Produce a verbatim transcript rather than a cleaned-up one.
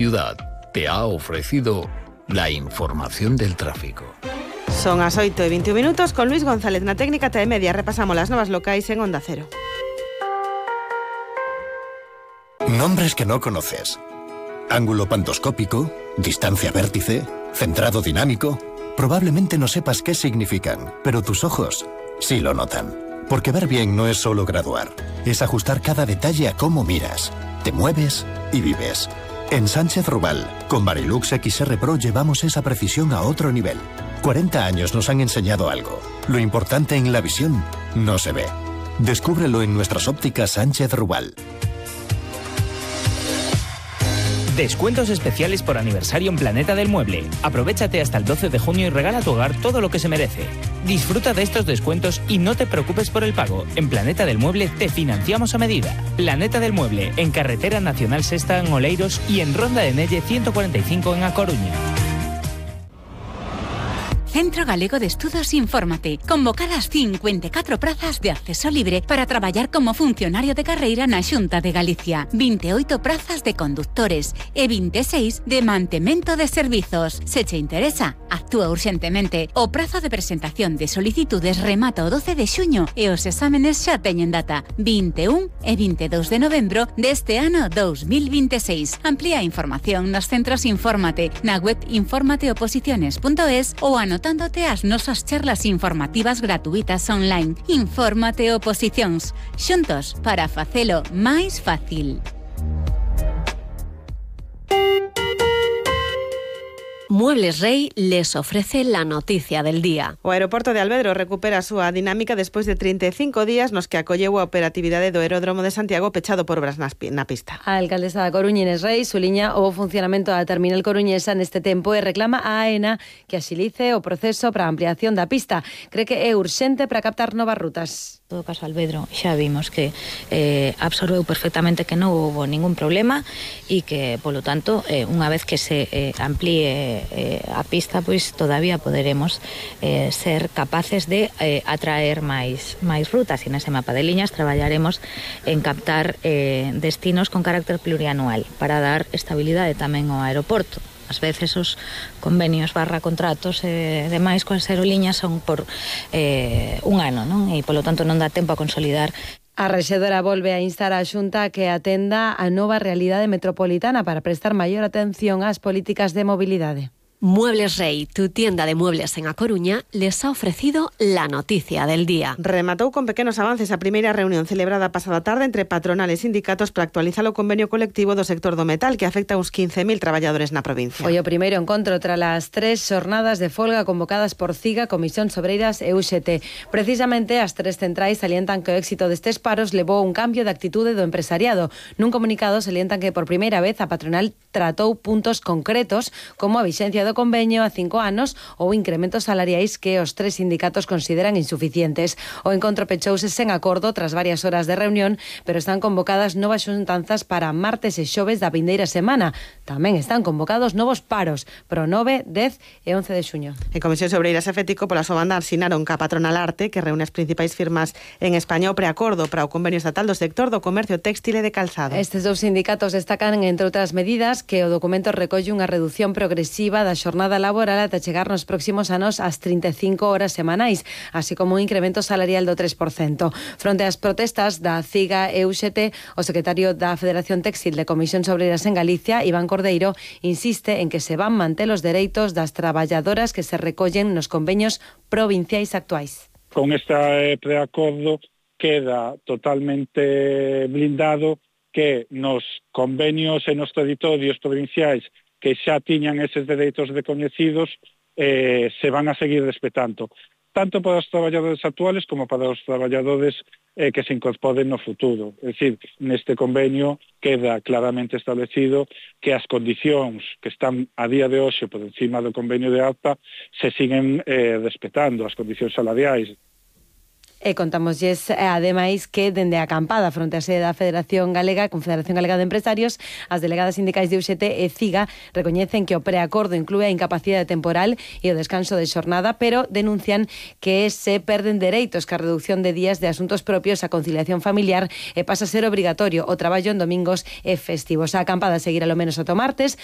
Ciudad te ha ofrecido la información del tráfico. Son as oito e veintiún minutos con Luis González na técnica T E Media. Repasamos las novas locais en Onda Cero. Nombres que no conoces. Ángulo pantoscópico, distancia vértice, centrado dinámico. Probablemente no sepas qué significan, pero tus ojos sí lo notan. Porque ver bien no es solo graduar, es ajustar cada detalle a cómo miras, te mueves y vives. En Sánchez Rubal, con Varilux X R Pro llevamos esa precisión a otro nivel. cuarenta años nos han enseñado algo. Lo importante en la visión no se ve. Descúbrelo en nuestras ópticas Sánchez Rubal. Descuentos especiales por aniversario en Planeta del Mueble. Aprovéchate hasta el doce de junio y regala a tu hogar todo lo que se merece. Disfruta de estos descuentos y no te preocupes por el pago. En Planeta del Mueble te financiamos a medida. Planeta del Mueble, en Carretera Nacional Sexta en Oleiros y en Ronda de Nelle ciento cuarenta y cinco en A Coruña. Centro Galego de Estudos Infórmate. Convocadas cincuenta y catro prazas de acceso libre para traballar como funcionario de carreira na Xunta de Galicia. veintiocho prazas de conductores e veintiséis de mantemento de servizos. Se che interesa, actúa urxentemente. O prazo de presentación de solicitudes remata o doce de xuño e os exámenes xa teñen data. veintiún e veintidós de novembro deste ano dos mil veintiséis. Amplía a información nos centros Infórmate na web informateoposiciones punto es ou anotándote as nosas charlas informativas gratuitas online. Infórmate Oposicións. Xuntos para facelo máis fácil. Muebles Rey les ofrece la noticia del día. O aeroporto de Alvedro recupera a súa dinámica despois de trinta e cinco días nos que acolleu a operatividade do aeródromo de Santiago pechado por obras na pista. A alcaldesa da Coruña, Inés Rey, suliña o funcionamento da terminal coruñesa neste tempo e reclama a AENA que axilice o proceso para a ampliación da pista. Cree que é urxente para captar novas rutas. En todo caso, Alvedro xa vimos que eh, absorbeu perfectamente que non houve ningún problema e que, polo tanto, eh, unha vez que se eh, amplíe eh, a pista, pois todavía poderemos eh, ser capaces de eh, atraer máis, máis rutas e nese mapa de liñas traballaremos en captar eh, destinos con carácter plurianual para dar estabilidade tamén ao aeroporto. Ás veces os convenios barra contratos e eh, demais coas aerolíneas son por eh, un ano, non? E polo tanto non dá tempo a consolidar. A rexedora volve a instar a Xunta que atenda a nova realidade metropolitana para prestar maior atención ás políticas de mobilidade. Muebles Rey, tu tienda de muebles en A Coruña, les ha ofrecido la noticia del día. Rematou con pequenos avances a primeira reunión celebrada pasada tarde entre patronal e sindicatos para actualizar o convenio colectivo do sector do metal que afecta a uns quince mil traballadores na provincia. Foi o primeiro encontro tras as tres xornadas de folga convocadas por CIGA, Comisión Obreiras e U X T. Precisamente as tres centrais salientan que o éxito destes paros levou un cambio de actitude do empresariado. Nun comunicado salientan que por primeira vez a patronal tratou puntos concretos como a vixencia do convenio a cinco anos ou incrementos salariais que os tres sindicatos consideran insuficientes. O encontro pechouse sen acordo tras varias horas de reunión, pero están convocadas novas xuntanzas para martes e xoves da vindeira semana. Tamén están convocados novos paros pro nove, dez e once de xuño. En Comisión Obreiras e Fético, pola súa banda, asinaron ca patronal Arte, que reúne as principais firmas en España, o preacordo para o convenio estatal do sector do comercio téxtil e de calzado. Estes dous sindicatos destacan, entre outras medidas, que o documento recolle unha reducción progresiva da xornada laboral ata chegar nos próximos anos ás trinta e cinco horas semanais, así como un incremento salarial do tres por cento. Fronte ás protestas da CIGA e U X T, o secretario da Federación Téxtil de Comisións Obreiras en Galicia, Iván Cordeiro, insiste en que se van manter os dereitos das traballadoras que se recollen nos convenios provinciais actuais. Con este preacordo queda totalmente blindado que nos convenios e nos territorios provinciais que xa tiñan eses dereitos recoñecidos eh, se van a seguir respetando, tanto para os traballadores actuales como para os traballadores eh, que se incorporen no futuro. É dicir, neste convenio queda claramente establecido que as condicións que están a día de hoxe por encima do convenio de ARPA se siguen eh, respetando, as condicións salariais. E contámoslles, ademais, que dende a acampada fronte á sede da Federación Galega, Confederación Galega de Empresarios, as delegadas sindicais de U X T e CIGA recoñecen que o preacordo inclúe a incapacidade temporal e o descanso de xornada, pero denuncian que se perden dereitos que a reducción de días de asuntos propios, a conciliación familiar e pasa a ser obrigatorio o traballo en domingos e festivos. A acampada seguirá lo menos ata o martes,